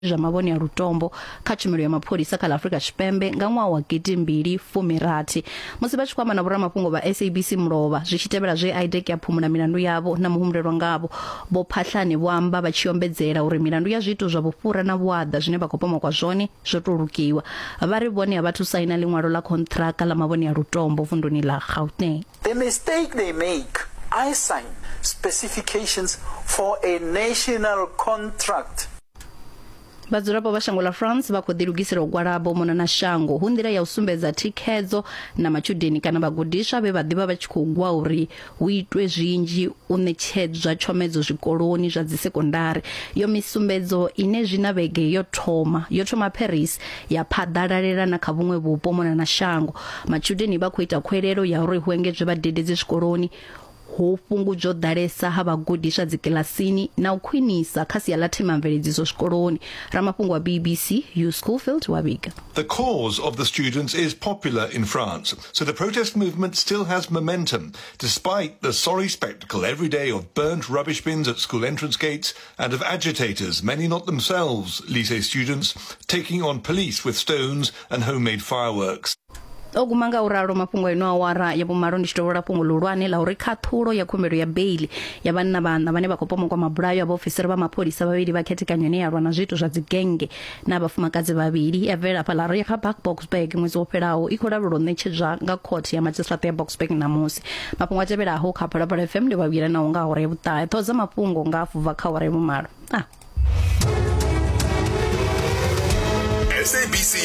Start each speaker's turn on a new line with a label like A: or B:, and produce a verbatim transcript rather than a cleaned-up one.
A: Zwa mavhone a lutombo kha tshumelo ya mapholisa kha ḽa Afrika Tshipembe nga ṅwaha wa gidi mbili fumi rathi. Musi vha tshi khou amba na vhoramafhungo vha S A B C mulovha zwi tshi tevhela zwe IDAC ya phumula milandu yavho na muhumbulelwa ngavho, Vho Phahlane vho amba vha tshi ombedzela uri milandu ya zwiito zwa vhufhura na vhuaḓa zwine vha khou pomokwa zwone zwo tou lukiwa. Vha ri vhone a vhathu saina ḽiṅwalo ḽa khonṱhiraka ḽa mavhone a lutombo vunduni ḽa Gauteng.
B: The mistake they make, I sign specifications for a national contract.
A: Vhadzulapo vha shango ḽa France vha khou ḓilugisela u gwalaba u mona na shango hu nḓila ya u sumbedza thikhedzo na matshudeni kana vhagudiswa vhe vha ḓivha vha tshi khou gwa uri hu itwe zwinzhi u ṋetshedzwa tshomedzo zwikoloni zwa dzisekondari. Yo misumbedzo ine zwina vhege yo thoma yo thoma Paris ya phaḓalalela na kha vhuṅwe vhupo mona na shango. Matshudeni vha khou ita khuwelelo ya uri hu engedzwe vhadededzi zwikoloni, hu fhungudzwe u ḓalesa ha vhagudiswa dzikiḽasini na u khwinisa kha sia ḽa themamveledziso zwikoloni. Ramafhungo wa B B C Hugh Schofield wa vhiga.
C: The cause of the students is popular in France, so the protest movement still has momentum, despite the sorry spectacle every day of burnt rubbish bins at school entrance gates and of agitators, many not themselves lycée students, taking on police with stones and homemade fireworks.
A: O guma nga u ralo mafhungo ino awara ya vhumalo. Ndi tshi tovhola fhungo ḽihulwane ḽa uri khaṱhulo ya khumbelo ya beili ya vhanna vhaṋa vhane vha khou pomokwa mabulayo a vhaofisiri vha mapholisa vhavhili vha khethekanyo ine ya lwa na zwiito zwa dzigennge na vhafumakadzi vhavhili ya bvelela fhaḽa Reiger Park, Boksburg, ṅwedzi wo fhelaho i khou lavhelelwa u ṋetshedzwa nga khothe ya madzhisiṱiraṱa ya Boksburg ṋamusi. Mafhungo a tevhelaho kha Phalaphala F M ndi vhavhila naho nga awara ya vhuṱahe. Ṱhoho dza mafhungo nga hafhu bva kha awara ya vhumalo ah.
D: S A B C.